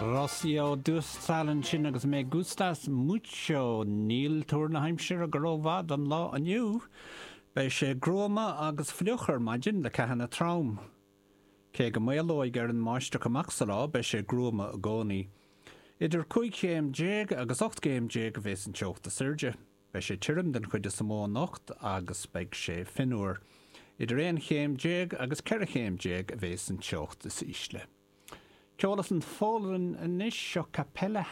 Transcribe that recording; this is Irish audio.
Rocío Dúrcal ansin agus Me Gustas Mucho. Níl tuar na haimsire go rómhaith don lá inniu. Beidh sé gruama agus fliuch ar maidin le ceathanna trom. Cé go maolóidh ar an mbáisteach amach sa lá, beidh sé gruama i gcónaí. Idir 15 chéim agus 18 gcéim a bheas an teocht is airde. Beidh sé tirim den chuid is mó anocht agus beidh sé fionnuar. Idir 11 chéim agus 14 chéim a bheas an teocht is ísle. Ceol as an Pholainn anois, seo Kapela.